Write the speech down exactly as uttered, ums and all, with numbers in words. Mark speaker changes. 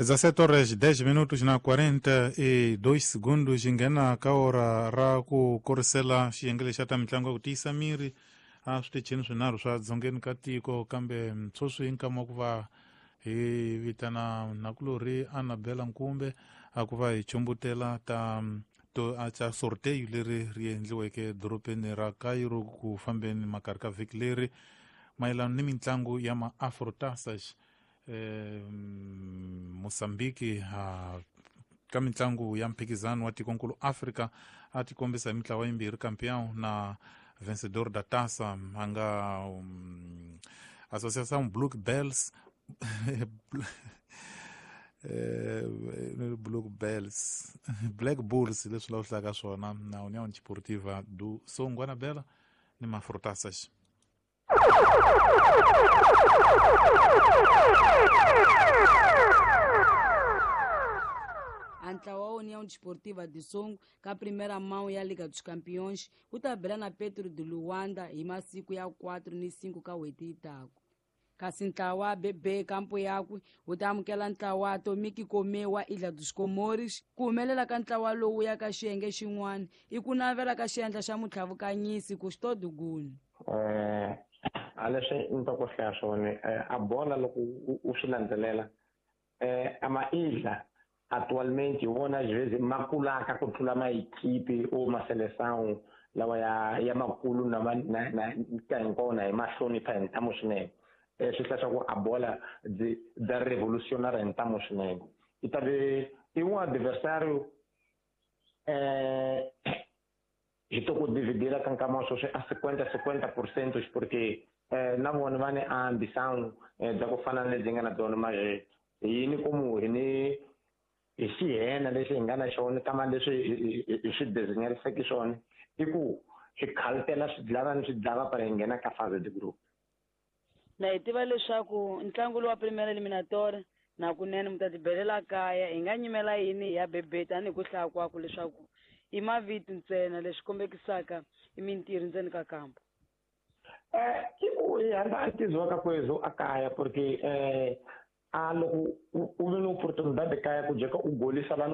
Speaker 1: dezessete horas dez minutos na quarenta e dois segundos hi nghena ka ora ra ku korisela xiyenge lexi xa ta mitlangu ya ku tiyisa miri a switichini swinharhu swa dzongeni ka tiko kambe sweswi hi nkama wa ku va hi vitana nakulorhi Annabella Nkumbe a ku va hi chumbutela ta to a ta sorteio leri ri endliweke dorobeni ra Cairo ku fambeni makarhi ka vhiki leri mayelana ni mitlangu ya ma-Afrotaças eh, Mozambique ha ka mitlangu ya mphikizano wa tikonkulu Africa a tikombisa hi mitlawa yimbirhi campeão na vencedor da taça a nga um, Associação Blue Bells eh, Blue Bells Black Bulls leswi la hlaka swona na União Desportiva do Songo Anabela ni Mafrotaças.
Speaker 2: A ntlawa wa União Desportiva de Songo ka primeira mão ya Liga dos Campeões wu ta bela na Petro de Luanda hi masiku ya quatro ni cinco ka n'hweti yi taku. Kasi ntlawa wa B B kampo yakwe wu ta amukela ntlawa wa Atomic Kome wa Ilha dos Comores. Ku humelela ka ntlawa lowu ya ka xiyenge xin'wana i ku navela ka xiendla xa mutlhavukanyisi Custódio Guni.
Speaker 3: eh a leswi ni ta ku hlaya swona a bola loko u swi landzelela eh a ma-ilha atualmente hi wona às vezes ma kulaka ku tlula maequipe ou ma seleção lawa ya ya makulu na na na ka hinkwawo na hi ma hlonipha hi ntamu swinene. eh swi hlaya swa ku a bola byi bya revolutionary hi ntamu swinene i ta ve i um adversário eh hi to ku dividira ka nkama wa sweswi a cinquenta cinquenta por cento porque eh na vona va ni ambição eh bya ku fana na lebyi nga na byona manje hi ni komu hi ni hi xihena lexi hi nga na xona kama leswi hi swi desenyeriseke swona i ku hi khaltela swidlava ni swidlava para hi nghena ka fase de group.
Speaker 2: Na hi tiva leswaku ntlangu lowu wa Primeira Eliminatória na kunene mi ta tibelela kaya hi nga nyimela yini ya B B tanihi ku hlaya kwaku leswaku i mavito ntsena leswi kombekisaka i mintirho ndzeni ka kampo.
Speaker 3: eh i ku hi hamba a tiziwa ka kwezo a kaya porque eh a loko u ve ni oportunidade kaya ku jeka u golisa vanhu.